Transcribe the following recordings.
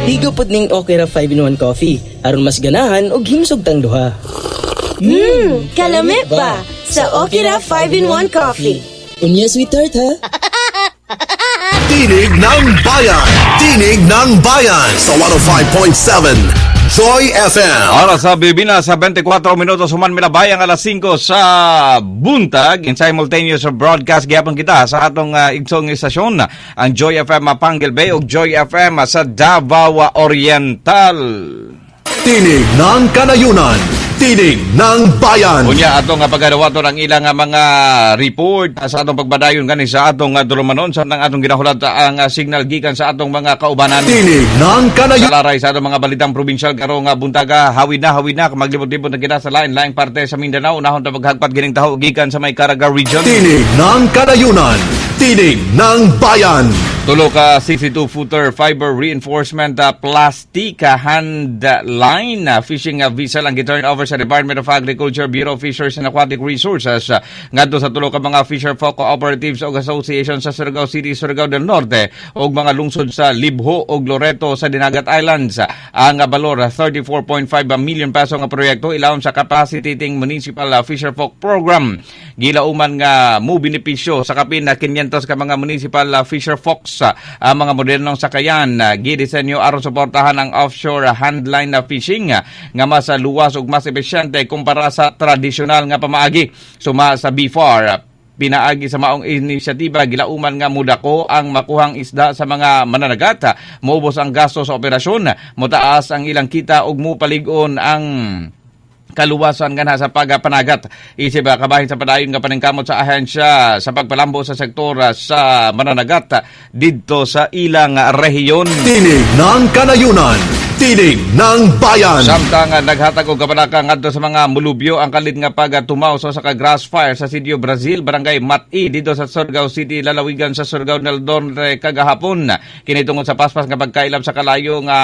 Ligo pod ning Okra 5-in-1 coffee aron mas ganahan og himsog tang duha. Kalami ba sa Okra 5-in-1 coffee. Unya, sweetheart, ha? Tinig ng Bayan. Tinig ng Bayan sa 105.7 Joy FM. Oras sa Pilipinas sa 24 minutos human milabay ang alas 5 sa buntag. In simultaneous broadcast gyapon kita sa atong igsoong istasyon, ang Joy FM Panguil Bay ug Joy FM sa Davao Oriental. Tinig ng Kanayunan. Tinig ng Bayan. Unya, atong pagadawaton ang ilang mga report sa atong pagbadayon gani sa atong dulumanon sa atong ginahulat ang signal gikan sa atong mga kaubanan. Tinig ng Kanayunan. Sa laray sa atong mga balitang probinsyal karong buntaga, hawid na, hawid na, maglibot-libot na kita sa lain-laing parte sa Mindanao. Unahon ta maghagpat gining taho gikan sa may Caraga Region. Tinig ng Kanayunan. Tinig ng Bayan. Tulo ka 62-footer fiber reinforcement plastic hand line fishing vessel ang gi-turn over sa Department of Agriculture, Bureau of Fisheries and Aquatic Resources ngadto sa tulo ka mga fisher folk cooperatives o association sa Surigao City, Surigao del Norte ug mga lungsod sa Libjo ug Loreto sa Dinagat Islands. Ang balor 34.5 million peso nga proyekto ilawom sa Capacitating Municipal Fisher Folk Program. Gilauman nga mo benepisyo sa kapin na 500 ka mga municipal fisher folks ang mga modernong sakayan, gidisenyo aron suportahan ang offshore handline na fishing nga mas luwas ug mas epesyente kumpara sa tradisyonal nga pamaagi. Suma sa BFAR, pinaagi sa maong inisyatiba, gilauman nga mudako ang makuhang isda sa mga mananagat, moubos ang gasto sa operasyon, motaas ang ilang kita ug mopalig-on ang kaluwasan nganha sa pagpanagat. Isip kabahin sa padayon nga paningkamot sa ahensya sa pagpalambo sa sektor sa mananagat didto sa ilang rehiyon. Tinig ng Kanayunan. Tinig ng Bayan. Samtang naghatag og kabalaka ngadto sa mga mulubyo ang kalit nga pagtumaw sa usa ka grass fire sa Sitio Brazil, Barangay Mati, didto sa Surigao City, lalawigan sa Surigao del Norte kagahapon. Kini tungod sa paspas nga pagkailap sa kalayo nga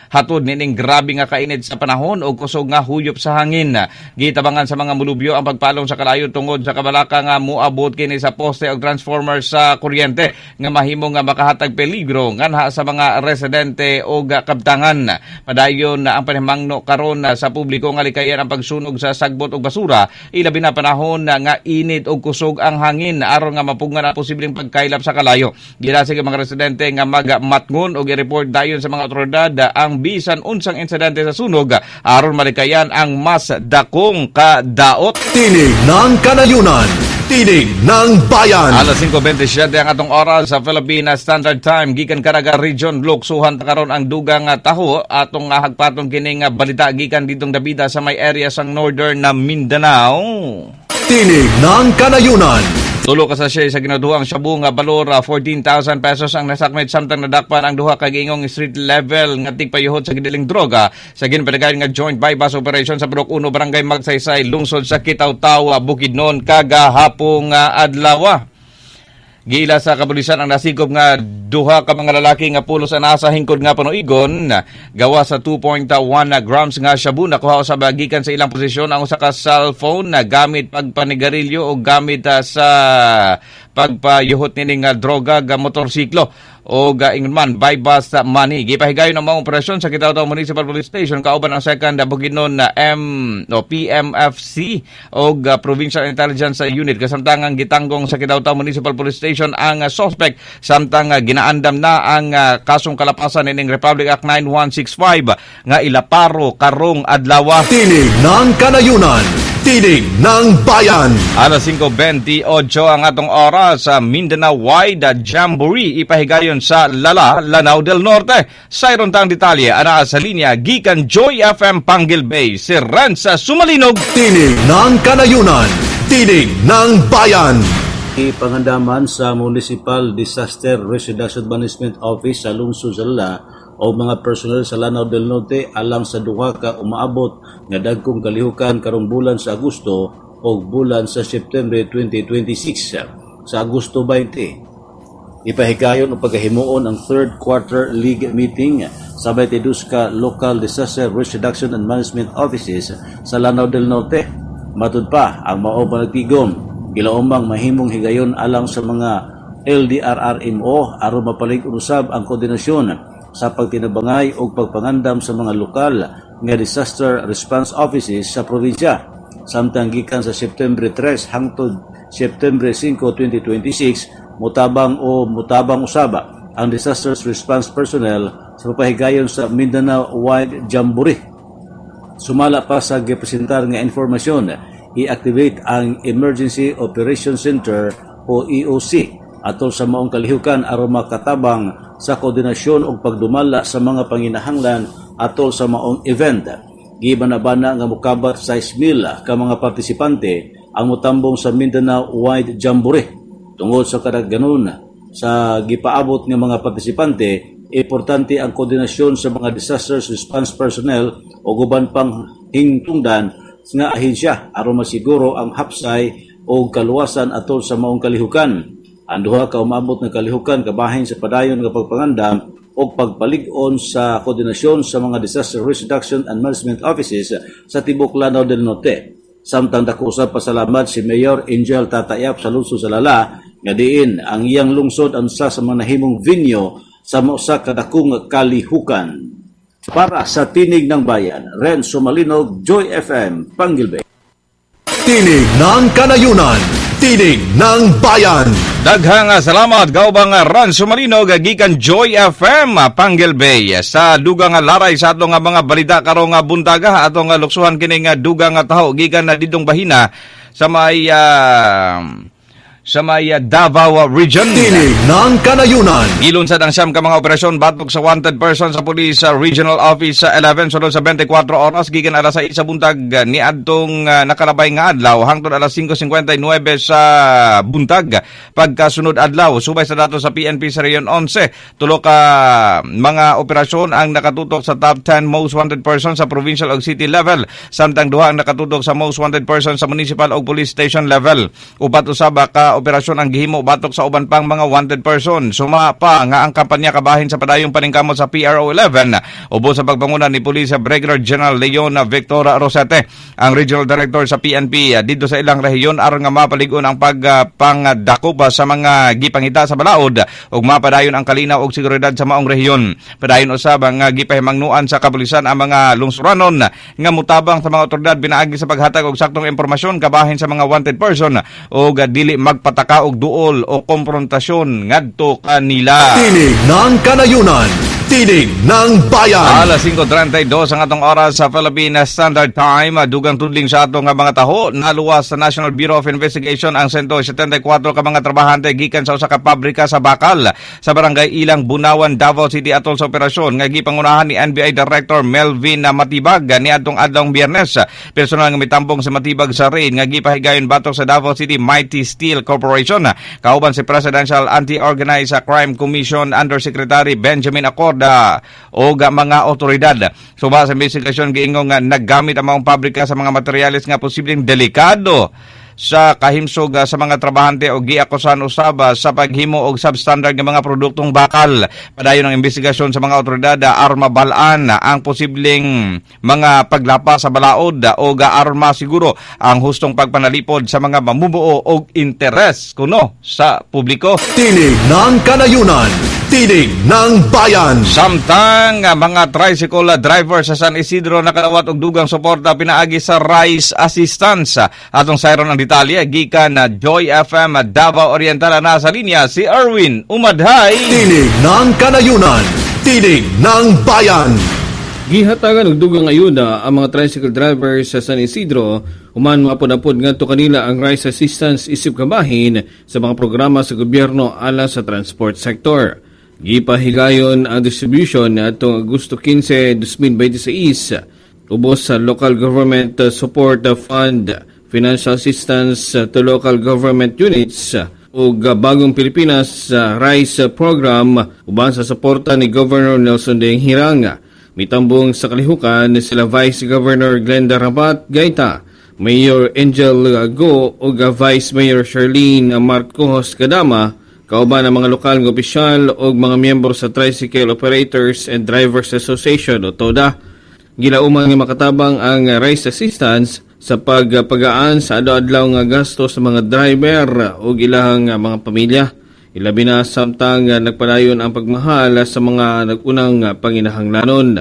hatod nining grabe nga kainit sa panahon ug kusog nga huyop sa hangin. Gitabangan sa mga mulubyo ang pagpalong sa kalayo tungod sa kabalaka nga moabot kini sa poste og transformer sa kuryente nga mahimo nga makahatag peligro nganha sa mga residente og kabtangan. Padayon na ang panimangno karon sa publiko nga likayan ang pagsunog sa sagbot og basura, ilabi na panahon na nga init og kusog ang hangin, aron nga mapugngan ang posibleng pagkailap sa kalayo. Gilasig ang mga residente nga magmatngon og i-report dayon sa mga otoridad ang bisan unsang insidente sa sunog aron malikayan ang mas dakong kadaot. Tinig ng Kanayunan. Tinig ng Bayan. Alas 5:27 ang atong oras sa Philippine Standard Time. Gikan Caraga Region, luksuhan ta karon ang dugang taho. Atong hagpaton kining balita gikan ditong Dabida sa may area sang Northern na Mindanao. Tinig ng Kanayunan. Tulo ka sachet sa ginaduhang shabu nga balor 14,000 pesos ang nasakmit samtang nadakpan ang duha ka giingong street level nga tigpayuhot sa gidiling droga sa ginpadayon nga joint buy-bust operation sa Purok 1, Barangay Magsaysay, lungsod sa Kitaw-Taw, Bukidnon kagahapong adlaw. Giila sa kapulisan ang nasikop nga duha ka mga lalaki nga pulos ang nasa hingkod nga panuigon gawa sa 2.1 grams nga shabu. Nakuha sa gikan sa ilang posisyon ang usa ka cellphone na gamit pagpanigarilyo o gamit sa pagpayuhot nining droga ga motorsiklo o ingon man buy bust money. Gipahigayon ang mga operasyon sa Kitaw-Taw Municipal Police Station kauban ang second Bukidnon na M no PMFC o Provincial Intelligence Unit, kasamtangang gitanggong sa Kitaw-Taw Municipal Police Station ang suspect samtang ginaandam na ang kasong kalapasan nining Republic Act 9165 nga ilaparo karong adlaw. Tinig ng Kanayunan. Tinig ng Bayan. Alas 5:28 ang atong oras sa Mindanao Wide Jamboree ipahigayon sa Lala, Lanao del Norte. Sa tang detalye, anaa sa linya gikan Joy FM Panguil Bay, si Renza Sumalinog. Tinig ng Kanayunan. Tinig ng Bayan. Ipangandaman sa Municipal Disaster Risk Reduction Management Office sa lungsod sa Lala o mga personnel sa Lanao del Norte alang sa duha ka umaabot nga dagkong kalihukan karong bulan sa Agosto o bulan sa September 2026. Sa Agosto 20, ipahigayon o pagkahimuon ang third quarter league meeting sa 22 ka local disaster risk reduction and management offices sa Lanao del Norte. Matud pa ang mao panagtigom gilaumang mahimong higayon alang sa mga LDRRMO aron mapalig-on usab ang koordinasyon sa pagtinabangay ug pagpangandam sa mga lokal nga disaster response offices sa probinsya. Samtang gikan sa September 3 hangtod September 5, 2026, mutabang o mutabang usaba ang disaster response personnel sa papahigayon sa Mindanao Wide Jamboree. Sumala pa sa gipresentar nga informasyon, i-activate ang Emergency Operation Center o EOC atol sa maong kalihukan aron makatabang sa koordinasyon ug pagdumala sa mga panginahanglan atol sa maong event. Gibanabana nga mokabat 6,000 ka mga partisipante ang motambong sa Mindanao Wide Jamboree. Tungod sa kadaghanon sa gipaabot nga mga partisipante, importante ang koordinasyon sa mga disaster response personnel o uban pang hingtungdan nga ahensya aron masiguro ang hapsay o kaluwasan atol sa maong kalihukan. Ang duha ka umaabot nga kalihukan kabahin sa padayon nga pagpangandam o pagpalig-on sa koordinasyon sa mga disaster risk reduction and management offices sa tibok Lanao del Norte. Samtang dako usab pasalamat si Mayor Angel Tata Yap sa lungsod sa Lala nga diin ang iyang lungsod ang usa sa mga nahimong venue sa usa ka dakong kalihukan. Para sa Tinig ng Bayan, Renzo Malinog, Joy FM, Panguil Bay. Tinig ng Kanayunan, Tinig ng Bayan. Daghang salamat, Gaubang Ranso Malinog, gikan Joy FM, Panguil Bay. Sa dugang laray sa atong mga balita karong buntaga, atong luksuhan kining dugang taho gikan na didtong bahina sa may Davao Region. Tinig ng Kanayunan. Gilunsad ang 9 ka mga operasyon batok sa wanted person sa Police Regional Office 11 sulod sa 24 oras gikan alas 6 sa buntag niadtong nakalabay nga adlaw hangtod alas 5:59 sa buntag pagkasunod adlaw. Subay sa datos sa PNP sa Region 11, tulo ka mga operasyon ang nakatutok sa top 10 most wanted person sa provincial ug city level, samtang duha ang nakatutok sa most wanted person sa municipal ug police station level. Upat usab ka operasyon ang gihimo batok sa uban pang mga wanted person. Suma pa nga ang kampanya kabahin sa padayong paningkamot sa PRO 11 ubos sa pagpanguna ni Police Brigadier General Leon Victor Rosete, ang Regional Director sa PNP didto sa ilang rehiyon, aron nga mapalig-on ang pagpangdakop sa mga gipangita sa balaod ug mapadayon ang kalinaw ug seguridad sa maong rehiyon. Padayon usab nga gipahimangnuan sa kapulisan ang mga lungsuranon nga mutabang sa mga otoridad pinaagi sa paghatag og saktong impormasyon kabahin sa mga wanted person ug dili magpataka og duol o komprontasyon ngadto kanila. Tinig ng Kanayunan, Tinig ng Bayan. Alas 5:32 ang atong oras sa Philippine Standard Time. Dugang tudling sa atong mga taho. Naluwas sa National Bureau of Investigation ang 174 ka mga trabahante gikan sa usa ka pabrika sa bakal sa Barangay Ilang, Bunawan, Davao City atol sa operasyon nga gipangunahan ni NBI Director Melvin Matibag niadtong adlawng Biyernes. Personal nga mitambong sa Matibag sa raid nga gipahigayon batok sa Davao City Mighty Steel Corporation, kauban si Presidential Anti-Organized Crime Commission Undersecretary Benjamin Acorda o mga otoridad. Suba sa investigasyon, giingong nga naggamit ang maong pabrika sa mga materyales nga posibleng delikado sa kahimsog sa mga trabahante o giakusahan usab sa paghimo og substandard nga mga produktong bakal. Padayon ang investigasyon sa mga otoridad aron mabal-an ang posibleng mga paglapa sa balaod o arma siguro ang hustong pagpanalipod sa mga mamumuo og interes kuno sa publiko. Tinig ng Kanayunan, Tinig ng Bayan. Samtang mga tricycle driver sa San Isidro nakadawat og dugang suporta pinaagi sa Rice Assistance. Atong sayron ang detalye gikan na Joy FM Davao Oriental, na sa linya si Erwin Umadhay. Tinig ng Kanayunan, Tinig ng Bayan. Gihatagan og dugang ayuda ang mga tricycle drivers sa San Isidro human maapod-apod ngadto kanila ang rice assistance isip kabahin sa mga programa sa gobyerno alang sa transport sector. Gipahigayon ang distribution niadtong Agosto 15, 2026 ubos sa Local Government Support Fund, Financial Assistance to Local Government Units ug Bagong Pilipinas Rice Program uban sa suporta ni Governor Nelson Dayanghirang. Mitambong sa kalihukan sila Vice Governor Glenda Rabat Gaita, Mayor Angel Go ug Vice Mayor Charlene Marcos Kadama, kauban ang mga lokal nga opisyal ug mga miyembro sa Tricycle Operators and Drivers Association o TODA. Gilauman nga makatabang ang rice assistance sa pagpagaan sa adlaw-adlaw nga gasto sa mga driver ug ilahang mga pamilya. Ilabi na samtang nagpadayon ang pagmahal sa mga nag-unang panginahanglanon.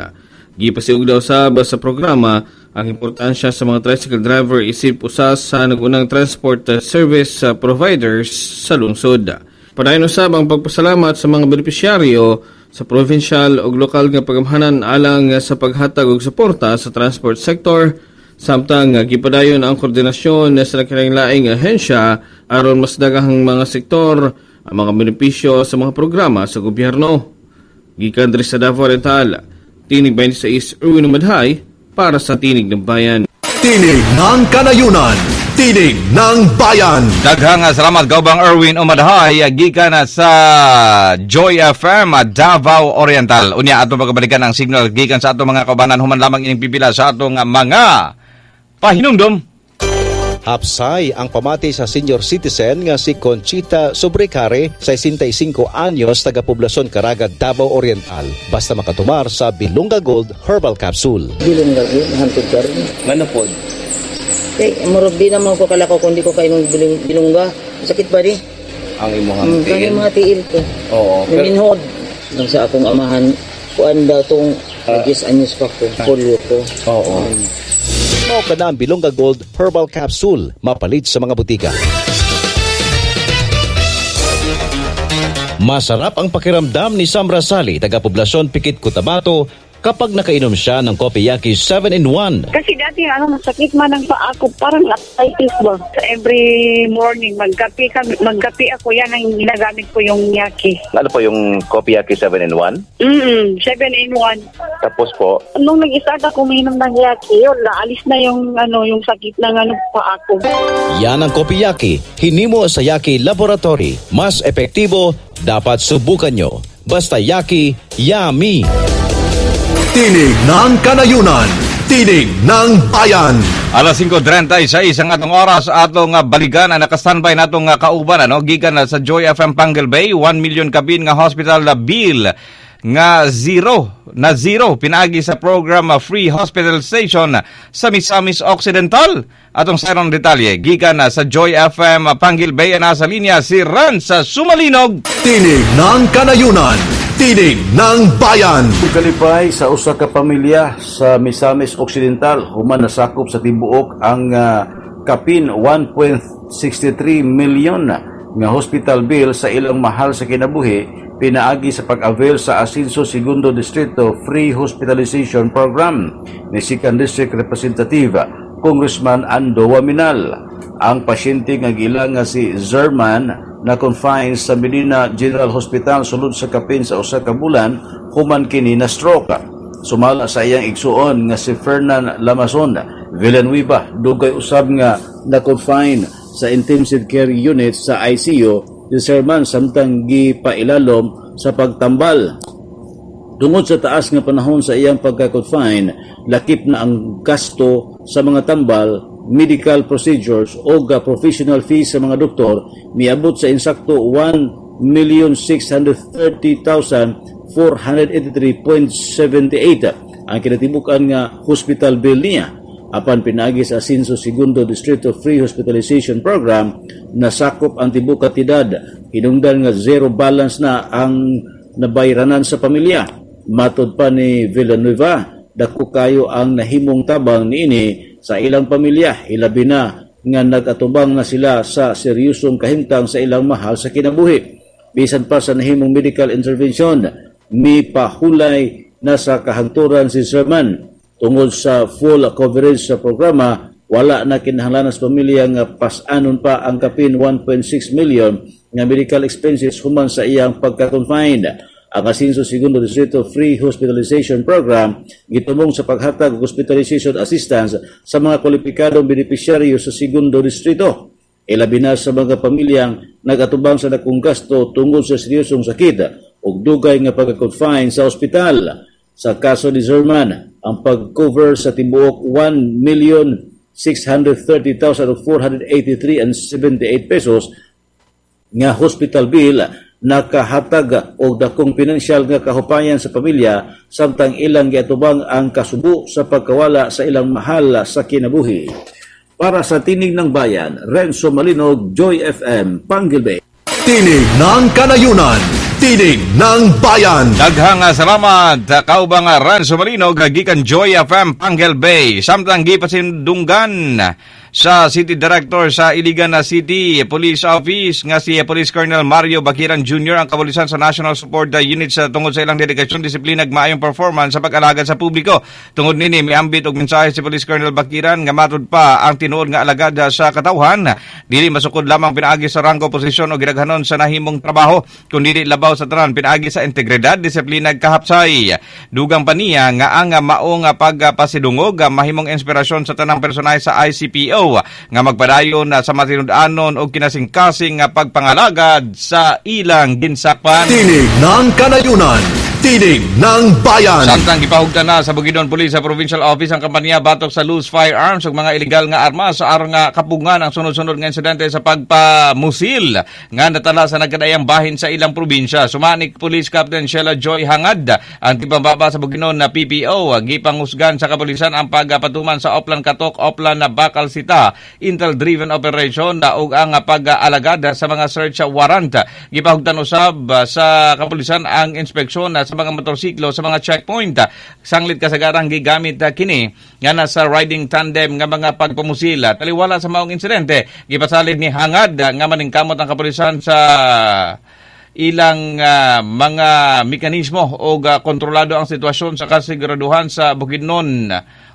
Gipasiugdaw usab sa programa ang importansya sa mga tricycle driver isip usa sa nag-unang transport service providers sa lungsod. Padayon usab ang pagpasalamat sa mga benepisyaryo sa provincial ug lokal nga pagamhanan alang sa paghatag og suporta sa transport sector, samtang gipadayon ang koordinasyon sa laing ahensya aron mas daghang mga sektor ang mga benepisyo sa mga programa sa gobyerno. Gikan diri sa Davao Oriental, Tinig 26, Erwin Madhay, para sa Tinig ng Bayan. Tinig ng Kanayunan, Tinig ng Bayan. Daghang salamat, Gobang Erwin Umadhay, gikan sa Joy FM Davao Oriental. Unya ato pagkabalikan ang signal gikan sa ato mga kaubanan human lamang ining pipila sa atong mga pahinumdom. Hapsay ang pamati sa senior citizen nga si Conchita Sobrecare, 65 anyos, taga Poblasyon Caraga, Davao Oriental. Basta makatumar sa Bilongga Gold Herbal Capsule. Bilongga Gold, hantod karon. Ngano pod? Kay murag di naman ko kalakaw kung di ko kainom bilongga. Sakit ba di? Ang imong tiil? Ang mga tiil ko. Oo. Pero... Nang sa akong amahan, kuan daw tong 10 anyos pa ko, polio ko. Oo. Mao ka na ang Bilongga Gold Herbal Capsule, mapalit sa mga butika. Masarap ang pakiramdam ni Sam Rasali, taga-poblasyon Pikit, Cotabato, kapag nakainom siya ng Kopiyaki 7-in-1. Kasi dati, masakit man ang paa ko, parang arthritis ba? Every morning, magkape ako, yan ang ginagamit ko yung yaki. Ano po yung Kopiyaki 7-in-1? 7-in-1. Tapos po? Nung nag-start ako uminom ng yaki, yun, naalis na yung, yung sakit ng paa ko. Yan ang Kopiyaki, hinimo sa Yaki Laboratory. Mas epektibo, dapat subukan nyo. Basta Yaki, yummy! Tinig ng Kanayunan, Tinig ng Bayan. Alas 5:36 ang atong oras, atong balikan ang naka-standby natong kauban gikan sa Joy FM Panguil Bay, 1 million kapin nga hospital bill nga zero pinaagi sa program Free Hospitalization sa Misamis Occidental. Atong sarong detalye gikan sa Joy FM Panguil Bay, nasa linya si Ransa Sumalinog. Tinig ng Kanayunan, Tinig ng Bayan. Kalipay sa usa ka pamilya sa Misamis Occidental human nasakop sa tibuok ang kapin 1.63 million nga hospital bill sa ilang mahal sa kinabuhi pinaagi sa pag-avail sa Asinso Segundo Distrito Free Hospitalization Program ni Second District Representative Congressman Ando Waminal. Ang pasyente nga giila nga si Zerman na confine sa Medina General Hospital sulod sa kapin sa usa ka bulan human kini na stroke. Sumala sa iyang igsuon nga si Fernan Lamason Villanueva, dugay usab nga na-confine sa intensive care unit sa ICU si Zerman samtang gipailalom sa pagtambal. Tungod sa taas nga panahon sa iyang pagka-confine, lakip na ang gasto sa mga tambal, medical procedures o professional fees sa mga doktor, miabot sa insakto 1,630,483.78 ang kinatibukan nga hospital bill niya. Apan pinaagi sa Asinso Segundo Distrito Free Hospitalization Program, nasakop ang tibuok kantidad, hinungdan nga zero balance na ang nabayranan sa pamilya. Matod pa ni Villanueva, dako kayo ang nahimong tabang niini sa ilang pamilya, ilabi na nga nag-atubang na sila sa seryosong kahimtang sa ilang mahal sa kinabuhi. Bisan pa sa nahimong medical intervention, mipahulay na sa kahangturan si Sherman. Tungod sa full coverage sa programa, wala na kinahanglan sa pamilya nga pas-anon pa ang kapin 1.6 million nga medical expenses human sa iyang pagka-confine. Ang Asinso Segundo Distrito Free Hospitalization Program gitumong sa paghatag og hospitalization assistance sa mga kwalipikadong benepisyaryo sa Segundo Distrito. Ilabi na sa mga pamilyang nagatubang sa dakong gasto tungod sa seryosong sakit ug dugay nga pagka-confine sa ospital. Sa kaso ni Zerman, ang pag-cover sa tibuok 1,630,483.78 pesos nga hospital bill nakahatag og dakong pinansyal nga kahupayan sa pamilya samtang ilang giatubang ang kasubo sa pagkawala sa ilang mahal sa kinabuhi. Para sa Tinig ng Bayan, Renzo Malinog, Joy FM, Panguil Bay. Tinig ng Kanayunan, Tinig ng Bayan. Daghang salamat kaubang Ranso Marino gikan Joy FM Panguil Bay. Samtang gipasindunggan sa City Director sa Iligan City Police Office nga si Police Colonel Mario Baquiran Jr. ang kapulisan sa National Support Unit sa tungod sa ilang dedikasyon, disiplina ug maayong performance sa pag-alagad sa publiko. Tungod nini miambit og mensahe si Police Colonel Baquiran nga matud pa ang tinuod nga alagad sa katawhan dili masukod lamang pinaagi sa ranggo, posisyon o gidaghanon sa nahimong trabaho, kundi labaw sa tanan pinaagi sa integridad, disiplina ug kahapsay. Dugang pa niya nga ang maong pagpasidungog mahimong inspirasyon sa tanang personahe sa ICPO nga magpadayon sa matinud-anon o kinasingkasing nga pagpangalagad sa ilang ginsakpan. Tinig ng Kanayunan, Tinig ng Bayan. Samtang gipahugtan na sa Bukidnon Police sa Provincial Office ang kampanya batok sa loose firearms ug mga ilegal nga armas sa aron nga kapungan ang sunod-sunod nga insidente sa pagpamusil nga natala sa nagkadayang bahin sa ilang probinsya. Sumanik Police Captain Sheila Joy Hangad ang tipambaba sa Bukidnon na PPO gipangusgan sa kapulisan ang pagpatuman sa Oplan Katok, Oplan na Bakal Sita, Intel-driven operation ug ang pag-alagad sa mga search warrant. Gipahugtan usab sa kapulisan ang inspeksyon sa mga motorsiklo sa mga checkpoint. Sanglit kasagarang gigamit kini nga nasa riding tandem nga mga pagpamusil. Taliwala sa maong insidente, gipasalid ni Hangad nga maningkamot ang kapulisan sa ilang mga mekanismo o kontrolado ang sitwasyon sa kasiguraduhan sa Bukidnon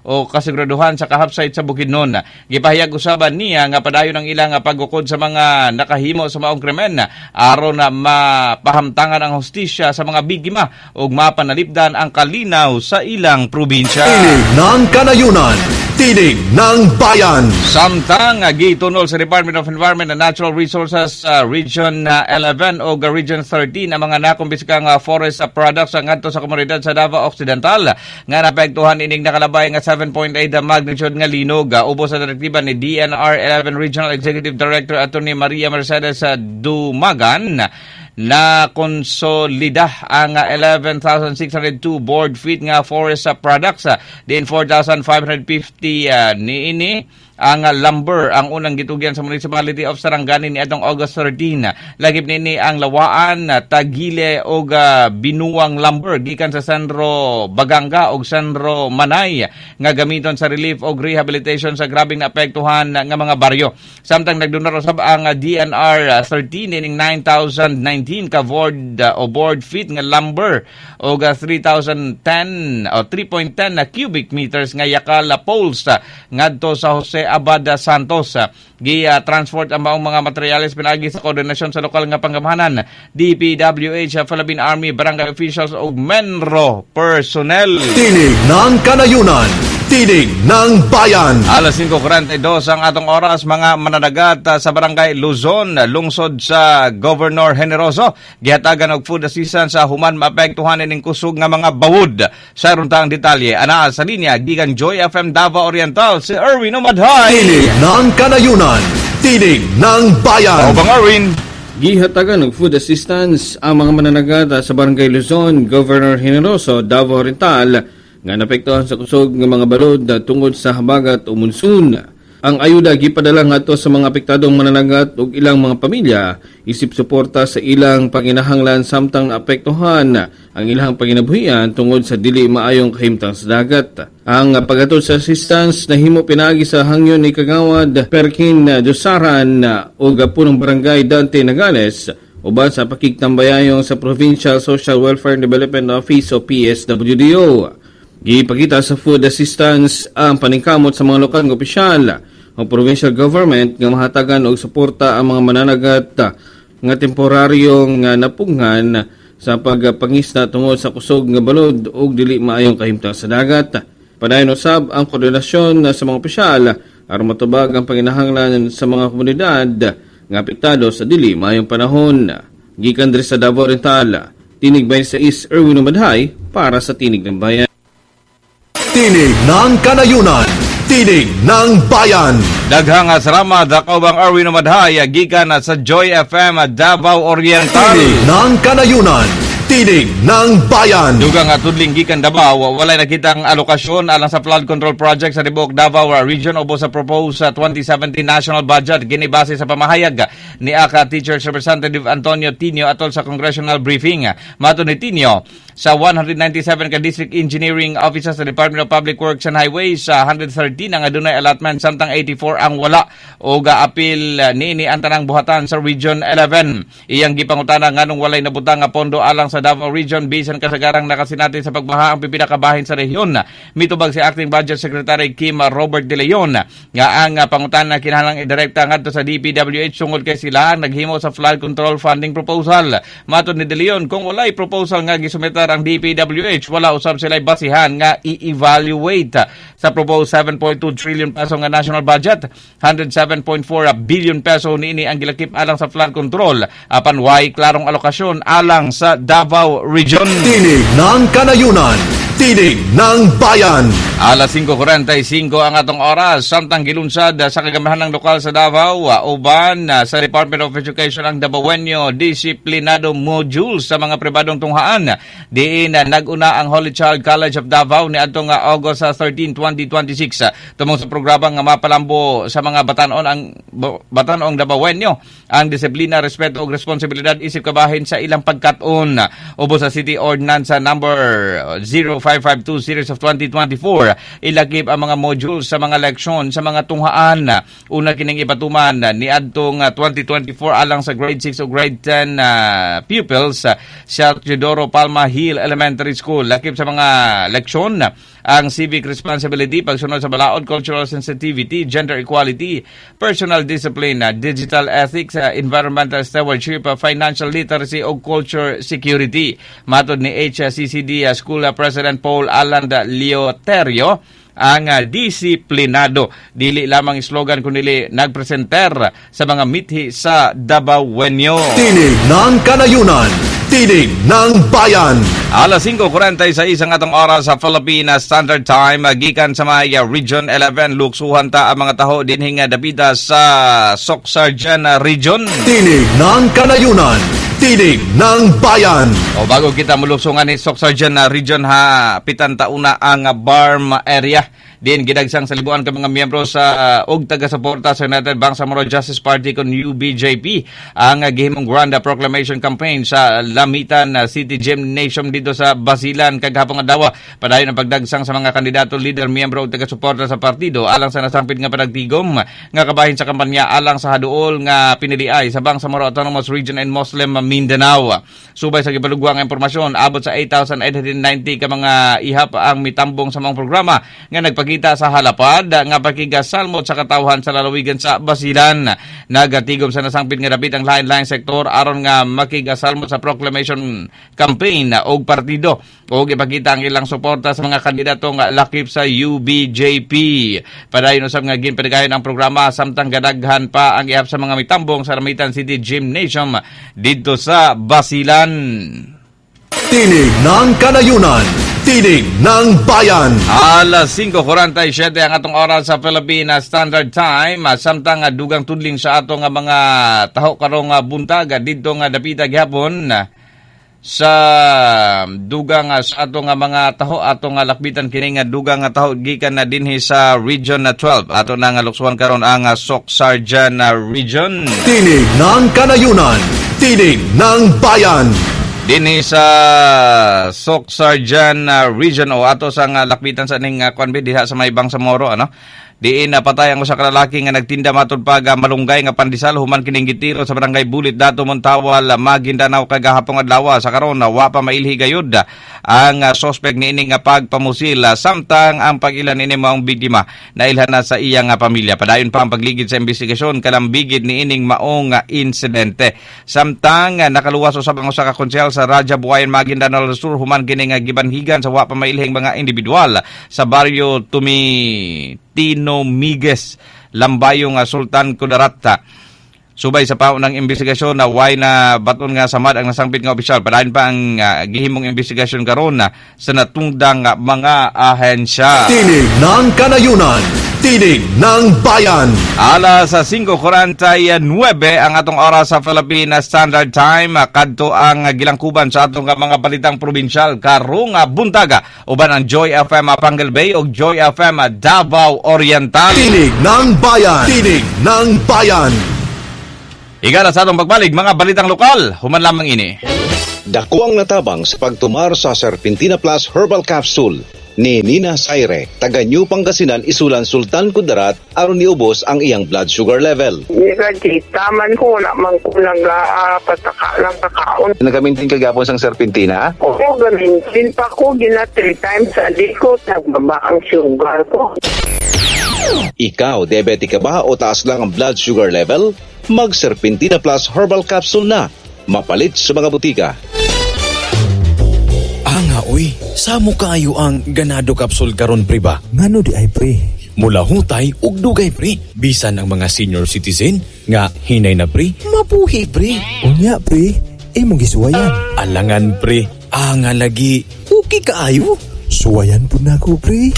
o kasiguraduhan sa kahapsayt sa Bukidnon. Gipahayag usaban niya nga padayon ang ilang pagukod sa mga nakahimo sa maong krimen aron na mapahamtangan ang hustisya sa mga biktima ug mapanalipdan ang kalinaw sa ilang probinsya. Tinig ng Kanayunan, Tinig ng Bayan. Samtang gitunol sa Department of Environment and Natural Resources Region 11 o Region 13 ang mga nakumpiskang forest products ngadto sa komunidad sa Davao Occidental nga naapektuhan ining nakalabay nga 7.8 magnitude nga linog. Ubos sa direktiba ni DNR 11 Regional Executive Director Attorney Maria Mercedes Dumagan na konsolida ang 11,602 board feet nga forest products din 4,550 niini ang lumber ang unang gitugyan sa Municipality of Sarangani ni atong August 13. Lagip niini ang Lawaan, Tagile og Binuang lumber gikan sa Sandro Baganga og Sandro Manay nga gamiton sa relief og rehabilitation sa grabeng naapektuhan nga mga baryo. Samtang nagdonar usab ang DNR 13 ining 9,019 ka board o board feet nga lumber og 3,010 o 3.10 na cubic meters nga yakal poles ngadto sa Jose Abad Santos. Gi-transport ang maong mga materyales pinaagi sa koordinasyon sa lokal nga panggamhanan, DPWH, Philippine Army, barangay officials ug Menro personnel. Tinig ng Kanayunan, Tinig ng Bayan. Alas 5:42 ang atong oras, mga mananagat sa Barangay Luzon, lungsod sa Governor Generoso, gihatagan og food assistance sa human maapektuhan ining kusog nga mga bawod. Sa runtang detalye, anaa sa linya gikan Joy FM Davao Oriental si Erwin Umadhay. Tinig ng Kanayunan, Tinig ng Bayan. Obang Erwin. Gihatagan og food assistance ang mga mananagat sa Barangay Luzon, Governor Generoso, Davao Oriental nga naapektuhan sa kusog nga mga balod tungod sa habagat o monsoon. Ang ayuda gipadala ngadto sa mga apektadong mananagat ug ilang mga pamilya isip suporta sa ilang panginahanglan samtang naapektuhan ang ilang panginabuhian tungod sa dili maayong kahimtang sa dagat. Ang paghatod sa assistance nahimo pinaagi sa hangyon ni Kagawad Perkin Dusaran ug punong barangay Dante Nagales uban sa pakigtambayayong sa Provincial Social Welfare and Development Office o PSWDO. Gipakita sa food assistance ang paningkamot sa mga lokal nga opisyal o provincial government nga mahatagan og suporta ang mga mananagat nga temporaryong napunghan sa pagpangisda tungod sa kusog nga balod ug dili maayong kahimtang sa dagat. Padayon usab ang koordinasyon sa mga opisyal aron matubag ang panginahanglan sa mga komunidad nga apektado sa dili maayong panahon. Gikan diri sa Davao Oriental, Tinig 26, Erwin Umadhay para sa Tinig ng Bayan. Tinig ng Kanayunan, Tinig ng Bayan. Daghang salamat kaubang Erwin Umadhay gikan sa Joy FM Davao Oriental. Tinig ng Kanayunan, Tinig ng Bayan. Dugang nga tudling gikan Davao, walay nakitang alokasyon alang sa flood control project sa tibuok Davao Region ubos sa proposed sa 2017 national budget, ginibase sa pamahayag ni AKA Teachers Representative Antonio Tinio atol sa congressional briefing. Matod ni Tinio, sa 197 ka district engineering officers sa Department of Public Works and Highways, sa 113 ang adunay allotment samtang 84 ang wala, o gaapil niini ang tanang buhatan sa Region 11. Iyang gipangutana nganong walay nabutang nga pondo alang sa Davao Region bisan kasagarang nakasinati sa pagbaha ang pipila ka bahin sa rehiyon. Mitubag si Acting Budget Secretary Kim Robert De Leon nga ang pangutana kinahanglang idirekta ngadto sa DPWH tungod kay sila ang naghimo sa flood control funding proposal. Matod ni De Leon, kung walay proposal nga gisumetar ang DPWH, wala usab sila basihan nga i-evaluate sa proposed 7.2 trillion peso nga national budget. 107.4 billion peso niini ang gilakip alang sa flood control, apan way klarong alokasyon alang sa Davao Region. Tinig ng Kanayunan, Tinig ng Bayan. Alas 5:45 ang atong oras, samtang gilunsad sa kagamahan ng lokal sa Davao uban sa Department of Education ang Davaoenyo Disiplinado Module sa mga pribadong tunghaan. Diin nag-una ang Holy Child College of Davao niadtong August 13, 2026, tumong sa programa nga mapalambo sa mga batanon ang batanong Davaoenyo ang disiplina, respeto ug responsibilidad isip kabahin sa ilang pagkat-on. Ubos sa City Ordinance number 0552 series of 2024, ilakip ang mga modules sa mga leksyon sa mga tunghaan. Una kining ipatuman niadtong 2024 alang sa grade 6 o grade 10 pupils sa Teodoro Palma Hill Elementary School. Lakip sa mga leksyon ang civic responsibility, pagsunod sa balaod, cultural sensitivity, gender equality, personal discipline, digital ethics, environmental stewardship, financial literacy o culture security. Matod ni HCCD School President Paul Alan Leoterio, ang disiplinado dili lamang slogan kundi nagpresenter sa mga mithi sa Davaoenyo. Tinig ng Kanayunan, Tinig ng Bayan. Alas 5:46 ang atong oras sa Philippine Standard Time, gikan sa may Region 11, luksuhan ta ang mga taho dinhi nga dapita sa Soccsksargen Region. Tinig ng Kanayunan, Tinig ng Bayan. O bago kita muluksungan ni Soccsksargen Region, ha pitan tauna ang BARMM area. Din gidagsang sa libuan ka mga miyembro sa og taga-suporta sa United Bangsamoro Justice Party kon UBJP ang gihimong Grand Proclamation Campaign sa Lamitan City Gymnasium dito sa Basilan kagahapon adlaw. Padayon ang pagdagsang sa mga kandidato, leader, miyembro ug taga-suporta sa partido alang sa nasangpit nga panagtigom nga kabahin sa kampanya alang sa haduol nga piniliay sa Bangsamoro Autonomous Region and Muslim Mindanao. Subay sa gipalugwa nga impormasyon, abot sa 8,890 ka mga ihap ang mitambong sa mga programa nga nagpakita sa halapad nga pakigasalmot sa katawhan sa lalawigan sa Basilan. Nagatigom sa nasangpit nga dapit ang lain-laing sektor aron nga makigasalmot sa proclamation campaign og partido og ipakita ang ilang suporta sa mga kandidato nga lakip sa UBJP. Padayon usab nga ginpadayon ang programa samtang gadaghan pa ang ihap sa mga mitambong sa Lamitan City Gymnasium didto sa Basilan. Tinig ng Kanayunan, Tinig ng Bayan. Alas 5:47 ang atong oras sa Philippine Standard Time. Samtang dugang tudling sa atong mga taho karong buntag didto nga dapita gihapon sa dugang sa atong mga taho, atong lakbitan kini nga dugang nga taho gikan na dinhi sa Region 12. Ato na nga luksuhan karon ang Soccsksargen Region. Tinig ng Kanayunan, Tinig ng Bayan. Dinhi sa Soccsksargen Region o ato sa nga lakbitan sa ning kuan diha sa may Bangsamoro, ano. Diin napatay ang usa ka lalaki nga nagtinda matud pag malunggay nga pandesal human kining gitiro sa barangay Bulit Dato Montawal, Maguindanao kagahapon adlaw. Sa karon wa pa mailhi gayud ang sospek niini nga pagpamusil, samtang ang pag-ilan niini maong biktima nailhan na sa iyang pamilya. Padayon pa ang pagligid sa investigasyon kalambigit niining maong insidente. Samtang nakaluwas usab ang usa ka konsehal sa Raja Buayan, Maguindanao del Sur human kini nga gibanhigan sa wa pa mailhing mga individual sa baryo Tino Migues, Lambayong, Sultan Kudarat. Subay sa paunang investigasyon na way na baton nga samad ang nasangpit nga opisyal. Padayon pa ang gihimong investigasyon karon sa natungdang mga ahensya. Tinig ng Kanayunan, Tinig ng Bayan. Alas 5:49 ang atong oras sa Philippine Standard Time. Kadto ang gilangkuban sa atong mga balitang probinsyal karong buntaga uban ang Joy FM Panguil Bay ug Joy FM Davao Oriental. Tinig ng Bayan. Tinig ng Bayan. Igala sa atong pagbalik mga balitang lokal, human lamang ini. Dako ang natabang sa pagtumar sa Serpentina Plus Herbal Capsule ni Nina Saire, taga New Pangasinan, Isulan, Sultan Kudarat, aron niubos ang iyang blood sugar level. Kita man ko, wala man ko nagpataka lang kakaon. Nagamintin kagapon sang Serpentina? Oo, gamintin pa ko, gina 3 times a day ko, nagbaba ang sugar ko. Ikaw, diabetic ka ba o taas lang ang blood sugar level? Mag Serpentina Plus Herbal Capsule na. Mapalit sa mga butika. Anga oy, samo kaayo ang Ganado Capsule karon pre ba? Ngano di ay pre? Mula hutay ug dugay pre. Bisan ang mga senior citizen nga hinay na pre, mapuhi pre. Unya pre, imong gisuwayan. Alangan pre, anga lagi, okay kaayo. Suwayan pud nako pre.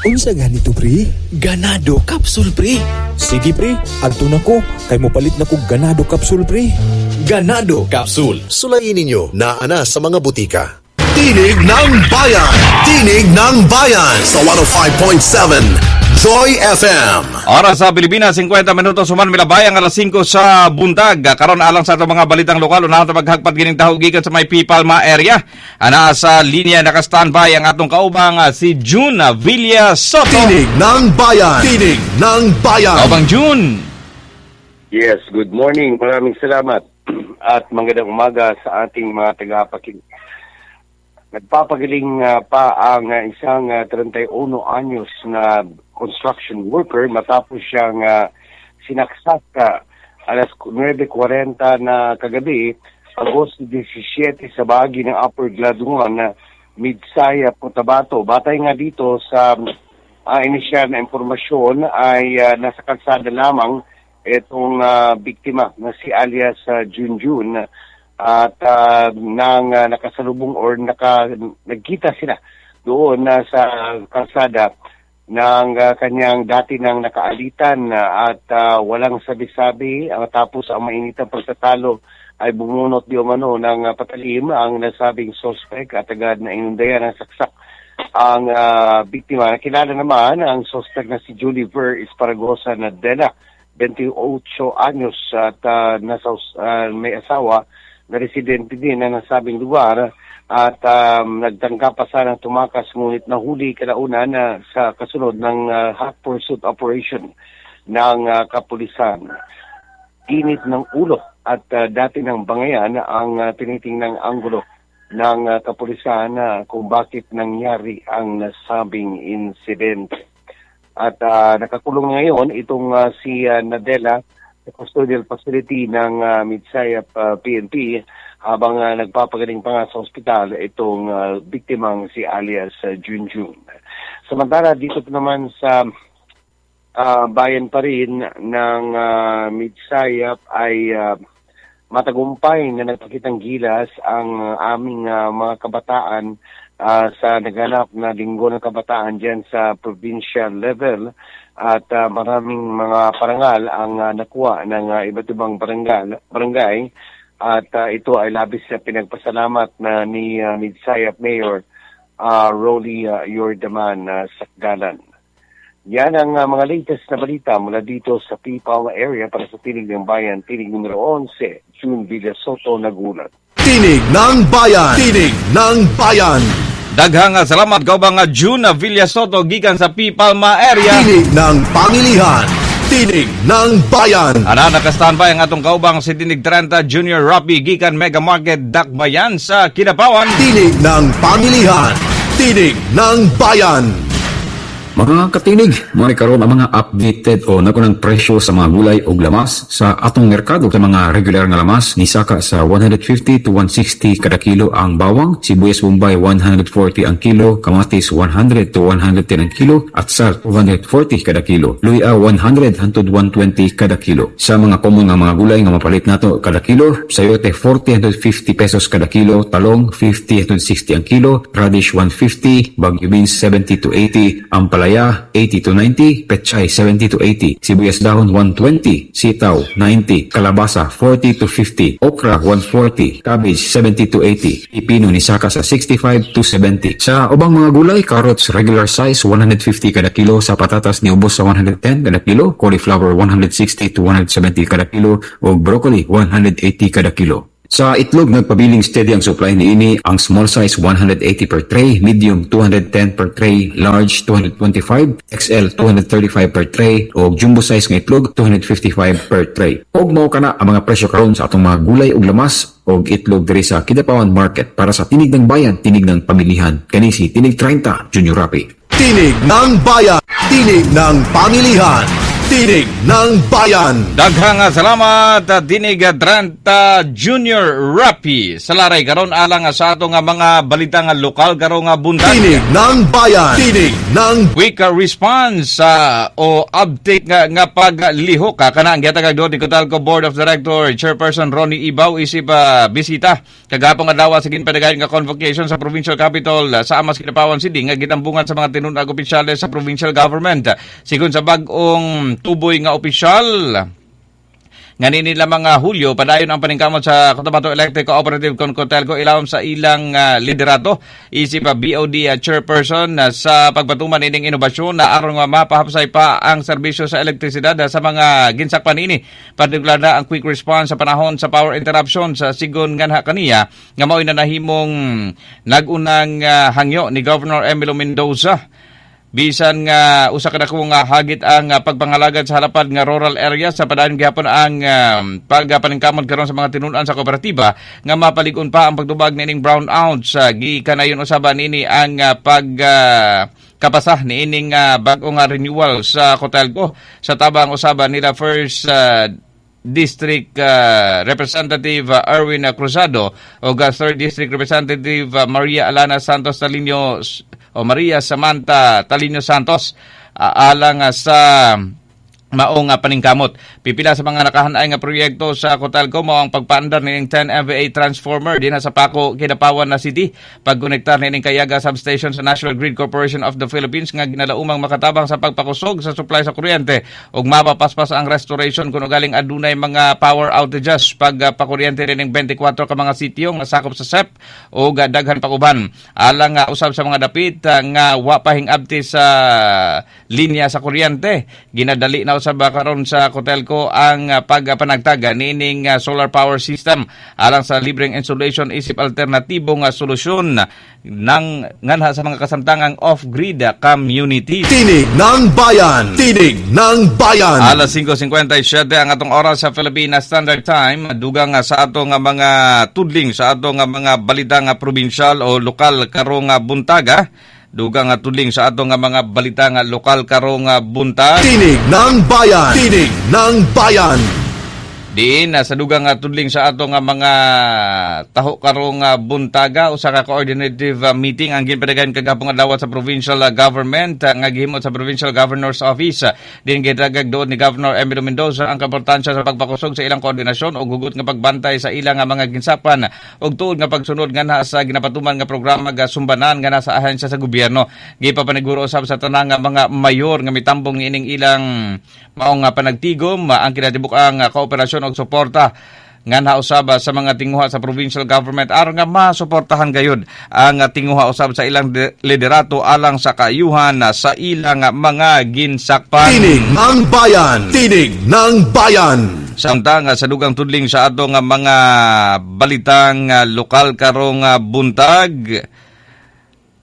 Unsa ganito pre? Ganado Capsule pre. Sige pre, adto na ko kay mopalit na kog Ganado Capsule pre. Ganado Capsule. Sulayin ninyo na ana sa mga butika. Tinig ng Bayan. Tinig ng Bayan sa 105.7 Joy FM. Oras sa Pilipinas, 50 minutos human milabay ang alas 5 sa buntag. Karon alang sa atong mga balitang lokal, unahan ta maghagpat gining taho gikan sa may P. Palma area. Ana sa linya naka-standby ang atong kaubang si June Villa Soto. Tinig ng Bayan. Tinig ng Bayan. Kaubang June. Yes, good morning. Maraming salamat at magandang umaga sa ating mga tagapakinig. Nagpapagaling pa ang isang 31 anyos na construction worker matapos siyang sinaksak alas 9:40 na kagabi, Agosto 17 sa bahagi ng Upper Gladuan na Midsaya, Cotabato. Batay nga dito sa inisyal na impormasyon ay nasa kalsada lamang itong biktima na si alias Junjun at nang nakasalubong or nagkita sila doon sa kalsada ng kanyang dati nang nakaalitan at walang sabi-sabi tapos ang mainitang pagtatalo ay bumunot di umano ng patalim ang nasabing suspect at agad na inundayan ng saksak ang biktima. Nakilala naman ang suspect na si Julie Ver Esparagosa Nadela, 28 anyos at may asawa na residente din na nasabing lugar at nagtangka pa sanang tumakas ngunit nahuli kalaunan sa kasunod ng hot pursuit operation ng kapulisan. Init ng ulo at dati ng bangayan ang tinitingnang anggulo ng kapulisan kung bakit nangyari ang nasabing insidente. At nakakulong ngayon itong si Nadela sa custodial facility ng Midsayap PNP habang nagpapagaling pa nga sa ospital itong biktimang si alias Junjun. Samantala dito naman sa bayan pa rin ng Midsayap ay matagumpay na nagpakitang gilas ang aming mga kabataan sa naganap na Linggo ng Kabataan dyan sa provincial level at maraming mga parangal ang nakuha ng iba't ibang barangay at ito ay labis na pinagpasalamat na ni Midsayap Mayor Rolly Yordaman Sakdalan. Yan ang mga latest na balita mula dito sa P. Palma area para sa Tinig ng Bayan, Tinig numero 11, June Villa Soto, nagulat. Tinig ng Bayan! Tinig ng Bayan! Daghang salamat kaubang June Villa Soto gikan sa P. Palma area. Tinig ng Pangilihan! Tinig ng Bayan! Ana, naka-standby ang atong kaubang si Tinig 30 Junior Robbie gikan Mega Market Dakbayan sa Kidapawan. Tinig ng Pangilihan! Tinig ng Bayan! Mga katinig, mga karon ang mga updated o nakunang presyo sa mga gulay o lamas sa atong merkado. Sa mga regular nga lamas, nisaka sa 150 to 160 kada kilo ang bawang, sibuyas Bombay 140 ang kilo, kamatis 100 to 110 ang kilo, at salt 240 kada kilo. Luya 100 hantod 120 kada kilo. Sa mga common nga mga gulay nga mapalit nato kada kilo, sayote 40 hantod 50 pesos kada kilo, talong 50 hantod 60 ang kilo, radish 150, bagyo beans 70 to 80, ang palaya Ampalaya 80 to 90, pechay 70 to 80, sibuyas dahon 120, sitaw 90, kalabasa 40 to 50, okra 140, cabbage 70 to 80, pipino ni saka sa 65 to 70. Sa ubang mga gulay, carrots regular size 150 kada kilo, sa patatas niubos sa 110 kada kilo, cauliflower 160 to 170 kada kilo, ug broccoli 180 kada kilo. Sa itlog, nagpabiling steady ang supply niini. Ang small size 180 per tray, medium 210 per tray, large 225, XL 235 per tray, o jumbo size nga itlog 255 per tray. Og mao kana ang mga presyo karon sa atong mga gulay ug lamas og itlog diri sa Kidapawan Market. Para sa Tinig ng Bayan, Tinig ng Pamilihan. Kani si Tinig 30, Junior Rapi. Tinig ng Bayan, Tinig ng Pamilihan. Tinig ng Bayan. Daghang salamat, Tinig 30 Junior Rapi. Sa laray karon alang sa ato nga mga balita nga lokal karon nga buntag. Tinig ng Bayan. Tinig ng Quick response o update nga paglihok kana ang gihatag ni Cotalco Board of Director Chairperson Ronnie Ibao isip bisita kagahapon adlaw sa ginpadayon nga convocation sa provincial capital sa Amas Kidapawan City nga gitambungan sa mga tinun-ag opisyales sa provincial government. Sigon sa bag-ong tuboy nga opisyal nga nini lamang Hulyo, padayon ang paningkamot sa Cotabato Electric Cooperative kon Cotelco ilawom sa ilang liderato isip BOD chairperson sa pagpatuman ining inobasyon na aron nga mapahapsay pa ang serbisyo sa elektrisidad sa mga ginsakpan ini, partikular na ang quick response sa panahon sa power interruption sa sigon nganha kaniya nga mao'y nanahimong nagunang hangyo ni Governor Emilio Mendoza. Bisan nga usa ka dako nga hagit ang pagpangalagad sa halapad nga rural area sa padayon gihapon ang pagpaningkamot karon sa mga tinun-an sa kooperatiba nga mapalig-on pa ang pagtubag niining brownouts gikanayon usaba niini ang pag kapasa niining bag-o nga renewal sa Cotelco sa tabang usaba nila first District Representative Erwin Cruzado o Third District Representative Maria Alana Santos Talino o Maria Samantha Talino Santos alang sa maong paningkamot. Pipila sa mga nakahanay nga proyekto sa Cotalco mao ang pagpaandar nining 10 MVA transformer dinha sa Paco, Kidapawan na City, pagkonektar nining Kayaga Substation sa National Grid Corporation of the Philippines nga ginalaumang makatabang sa pagpakusog sa supply sa kuryente ug mapapaspas ang restoration kun ugaling adunay mga power outages pagpakuryente nining 24 ka mga sitio nga sakop sa SEP ug daghan pa uban. Alang usab sa mga dapit nga wa pa hingabti sa linya sa kuryente, ginadali na usab karon sa Cotelco ang pagpanagtag niining solar power system alang sa libreng insulation isip alternatibo nga solusyon ng nganha sa mga kasamtangang off-grid community. Tinig ng Bayan! Tinig ng Bayan! Alas 5:57 ang atong oras sa Philippine Standard Time. Dugang sa atong mga tudling sa atong mga balita nga probinsyal o lokal karong buntaga. Dugang nga tudling sa atong mga balita nga lokal karong buntag. Tinig ng Bayan! Tinig ng Bayan! Diin sa dugang nga tudling sa atong mga taho karong buntaga, usa ka coordinative meeting ang ginpadagan kagahapon adlaw sa provincial government nga gihimo sa Provincial Governor's Office. Diin gitagag doon ni Governor Emilio Mendoza ang kaimportansya sa pagpakusog sa ilang koordinasyon ug hugot nga pagbantay sa ilang mga ginsapan ug tuod nga pagsunod nganha sa ginapatuman nga programa ga sumbanan nganha sa ahensya sa gobyerno. Gipapaniguro usab sa tanang mga mayor nga mitambong niining ilang maong panagtigom ang kinatibuk-ang kooperasyon og suporta nganha usab sa mga tinguha sa provincial government aron nga masuportahan gayud ang tinguha usab sa ilang liderato alang sa kaayuhan sa ilang mga ginsakpan. Tinig ng Bayan! Tinig ng Bayan! Samtang sa dugang tudling sa atong mga balitang lokal karong buntag,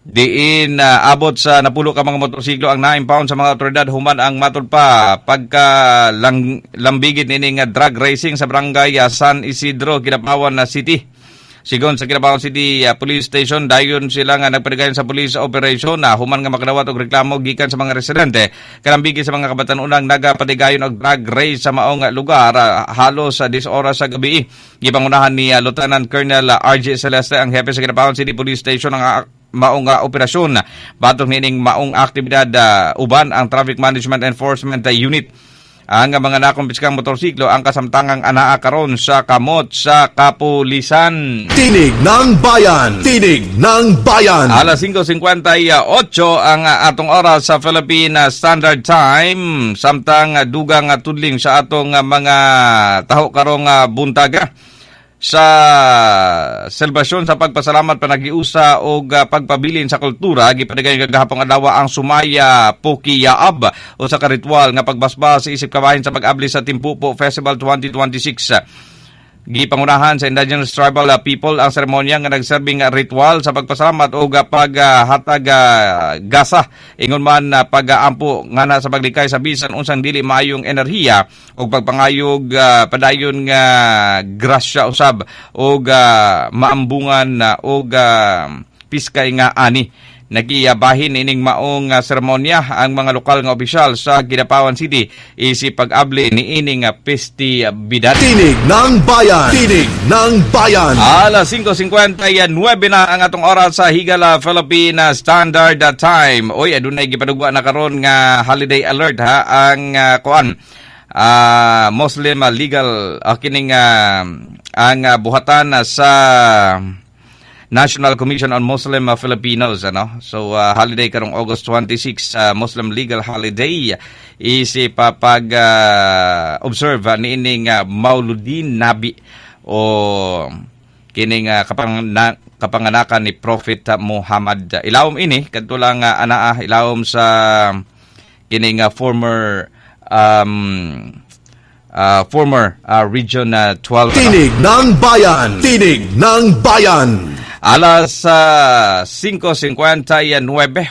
diin abot sa napulo ka mga motorsiklo ang na-impound sa mga otoridad human ang matud pa pagka lambigit nining drug racing sa barangay San Isidro, Kidapawan na City. Sigon sa Kidapawan City Police Station, dayon sila nga nagpadayon sa police operation na human nga makadawat og reklamo gikan sa mga residente kalambigit sa mga kabatan-unang nagapatigayon og drug race sa maong lugar halos sa 10 oras sa gabi. Gipangunahan ni Lieutenant Colonel RJ Celeste ang hepe sa Kidapawan City Police Station ang maong operasyon batok nining maong aktibidad uban ang Traffic Management Enforcement Unit. Ang mga nakumpiskang motorsiklo ang kasamtangang anaa karon sa kamot sa kapulisan. Tinig ng Bayan! Tinig ng Bayan! Alas 5:58 ang atong oras sa Philippine Standard Time. Samtang dugang tudling sa atong mga taho karong buntaga sa selebrasyon sa pagpasalamat, panagiusa og pagpabilin sa kultura, gipadayon kagahapon adlaw ang Sumaya Pukiyaab o sa karitual nga pagbasbas isip kabahin sa pag-abli sa Timpupo Festival 2026. Gipangunahan sa indigenous tribal people ang seremonya nga nagserbing ritual sa pagpasalamat og paghatag gasa ingon man pag-ampo ngana sa paglikay sa bisan unsang dili maayong enerhiya og pagpangayog padayon nga grasya usab og maambungan og piskay nga ani. Nagiyabahin ining maong seremonya ang mga lokal nga opisyal sa Kidapawan City isip pag-abli niining festividad. Tinig ng Bayan! Tinig ng Bayan! Alas 5:59 na ang atong oras sa Higala Philippine Standard Time. Oy, adunay gipadugwa na karon nga holiday alert ha ang kuan Muslim legal kining ang buhatan sa National Commission on Muslim Filipinos, ano? So holiday karong August 26, Muslim legal holiday isip pag observe niining Mauludin Nabi o kining kapanganakan ni Prophet Muhammad. Ilawom ini kadto lang anaa ilawom sa kining former Region 12. Tinig ng Bayan! Tinig ng Bayan! Alas 5:59,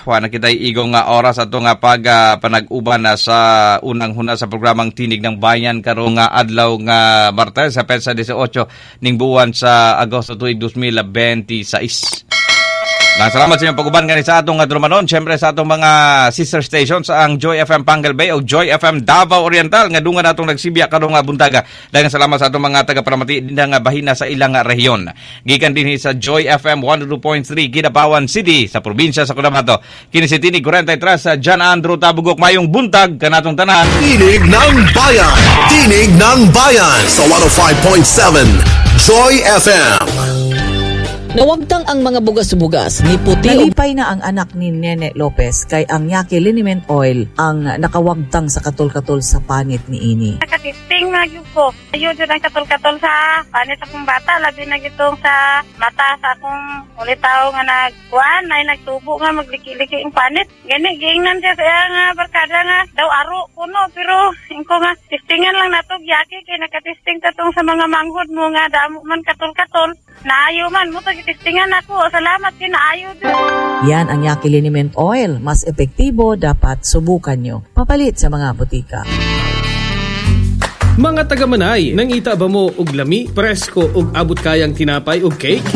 wa na kita'y igong oras ato nga pag panag-uban na sa unang huna sa programang Tinig ng Bayan karong adlaw nga Martes sa petsa 18 ning buwan sa Agosto tuig 2026. Salamat sa inyong pag-uban gani sa atong drumanon. Siyempre sa atong mga sister stations ang Joy FM Pangal Bay o Joy FM Davao Oriental nga dungan atong nagsibya karong buntaga. Daghang salamat sa atong mga taga-paramati dinha nga bahina sa ilang rehiyon. Gikan dinhi sa Joy FM 102.3 Kidapawan City sa probinsya sa Cotabato. Kini si Tinig 43 sa John Andrew Tabugok, mayong buntag kanatong tanan. Tinig ng Bayan. Tinig ng Bayan sa 105.7 Joy FM. Nawagtang ang mga bugas-bugas ni puti. Nalipay na ang anak ni Nene Lopez kay ang Yaki Liniment Oil ang nakawagtang sa katol-katol sa panit ni ini. Nakatisting na yun ko. Ayun yun ang katol-katol sa panit akong bata. Labi na gitong sa mata sa akong ulitaw nga nagkuhan. Ay nagtubo nga magliki-liki ang panit. Gani, giingnan siya sa nga barkada nga daw aro kuno. Pero ingko nga tistingan lang nato Yaki kay nakatisting tatong sa mga manghod mo nga damo man katol-katol. Naayo man mo tistingan ako. Salamat, kinaayo din. Yan ang Yaki Liniment Oil. Mas epektibo, dapat subukan nyo. Papalit sa mga butika. Mga taga-Manay, nangita ba mo og lami, presko og abot kayang tinapay og cake?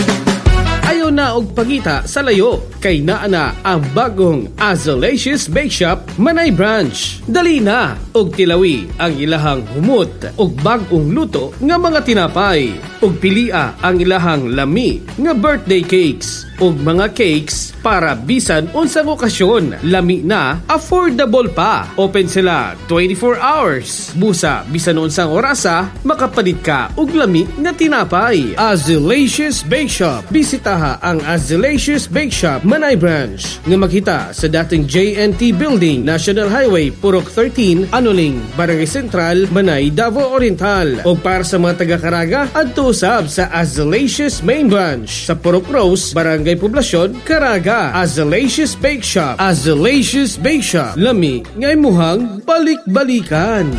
Ayaw na og pangita sa layo, kay naa na ang bagong Azalacious Bake Shop Manay Branch. Dali na og tilawi ang ilahang humot og bag-ong luto nga mga tinapay. Og pilia ang ilahang lami nga birthday cakes og mga cakes para bisan unsang okasyon. Lami na, affordable pa. Open sila 24 hours. Busa bisan unsang orasa, makapalit ka og lami nga tinapay. Azalacious Bake Shop. Bisitaha ang Azalacious Bake Shop Manay Branch nga makita sa dating JNT Building, National Highway, Purok 13, Anuling, Barangay Central, Manay, Davao Oriental. O para sa mga taga-Caraga, adto usab sa Azalacious Main Branch sa Purok Rose, Barangay Poblacion, Caraga. Azalacious Bake Shop. Azalacious Bake Shop. Lami ngay muhang balik-balikan.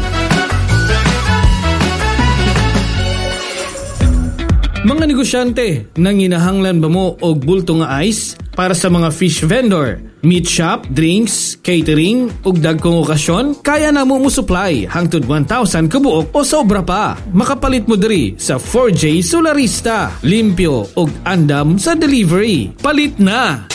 Mga negosyante, nanginahanglan ba mo og bulto nga ice para sa mga fish vendor, meat shop, drinks, catering, ug dagkong okasyon? Kaya na mo supply hangtod 1,000 kabuok o sobra pa. Makapalit mo diri sa 4J Solarista. Limpyo ug andam sa delivery. Palit na!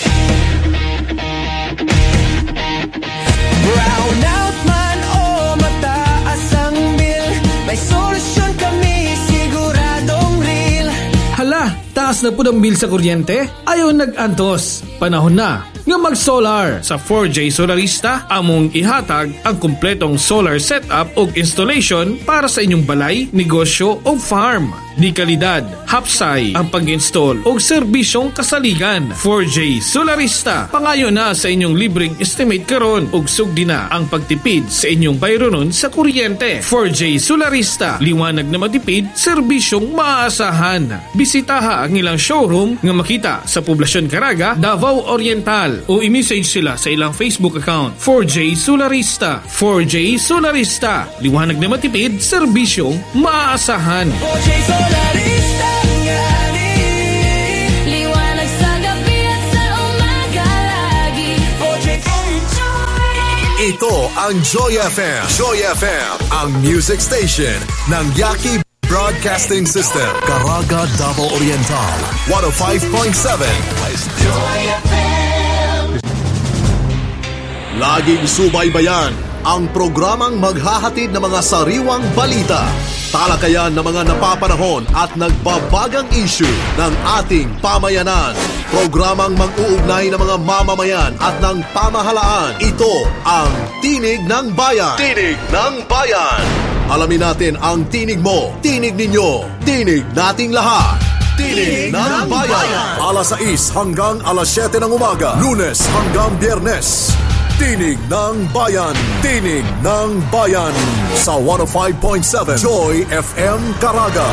Brown out man o mataas ang bill, may solusyon kami siguradong real. Hala, taas na po ang bill sa kuryente? Ayaw nag-antos. Panahon na nga mag-solar. Sa 4J Solarista, among ihatag ang kumpletong solar setup ug installation para sa inyong balay, negosyo o farm. Di kalidad, hapsay ang pag-install o serbisyong kasaligan. 4J Solarista, pangayo na sa inyong libreng estimate karon ug sugdi na ang pagtipid sa inyong bayronon sa kuryente. 4J Solarista, liwanag na matipid, serbisyong maaasahan. Bisitaha ang ilang showroom nga makita sa Poblasyon Caraga, Davao Oriental, o i-message sila sa ilang Facebook account. 4J Solarista, 4J Solarista, liwanag na matipid, serbisyong maaasahan. 4J Solarista ngani. Liwanag sa gabi at sa umaga lagi. 4J. Ito ang Joy FM. Joy FM, ang music station ng Yaki Broadcasting System. Caraga, Davao Oriental, 105.7. Joy FM. Laging subaybayan ang programang maghahatid ng mga sariwang balita, talakayan ng mga napapanahon at nagbabagang issue ng ating pamayanan. Programang mag-uugnay ng mga mamamayan at ng pamahalaan. Ito ang Tinig ng Bayan. Tinig ng Bayan. Alamin natin ang tinig mo, tinig ninyo, tinig nating lahat. Tinig ng Bayan. Alas 6 hanggang alas 7 ng umaga, Lunes hanggang Biyernes. Tinig ng Bayan. Tinig ng Bayan. Sa 105.7 Joy FM Caraga.